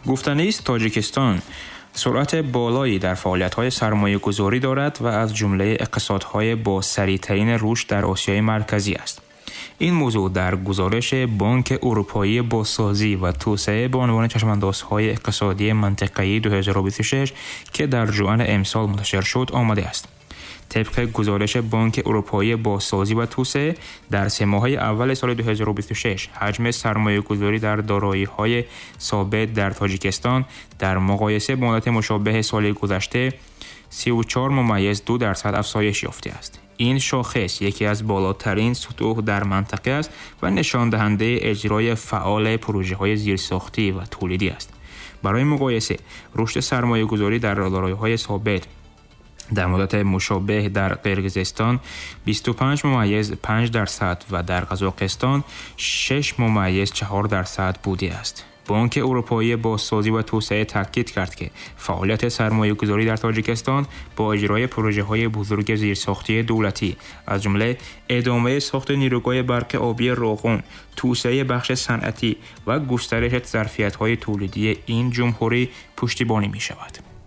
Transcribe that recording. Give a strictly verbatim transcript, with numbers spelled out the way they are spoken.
Гуфтанист, Тоҷикистон суръати болои дар фаъолиятҳои сармоягузорӣ дорад ва аз ҷумлаи иқтисодҳои бо сариътарин рушд дар Осиёи Марказӣ аст. Ин мавзӯъ дар гузориши Бонки Аврупоии бозсозӣ ва توسعه به عنوان چشم‌اندازهای اقتصادی منطقه‌ای دو هزار و بیست و شش که در ژوئن امسال منتشر شد آمده است. طبق گزارش بانک اروپایی بازسازی و توسعه در سه ماهه اول سال دو هزار و بیست و شش حجم سرمایه‌گذاری در دارایی‌های ثابت در تاجیکستان در مقایسه با مدت مشابه سال گذشته سی و چهار ممیز دو درصد افزایش یافته است. این شاخص یکی از بالاترین سطوح در منطقه است و نشان دهنده اجرای فعال پروژه‌های زیرساختی و تولیدی است. برای مقایسه، رشد سرمایه‌گذاری در دارایی‌های ثابت در مدت مشابه در قرقیزستان بیست و پنج ممیز پنج درصد و در قزاقستان شش ممیز چهار درصد بوده است. بانک اروپایی بازسازی و توسعه تاکید کرد که فعالیت سرمایه‌گذاری در تاجیکستان با اجرای پروژه‌های بزرگ زیرساختی دولتی از جمله ادامه ساخت نیروگاه برق آبی روغن، توسعه بخش صنعتی و گسترش ظرفیت‌های تولیدی این جمهوری پشتیبانی می‌شود.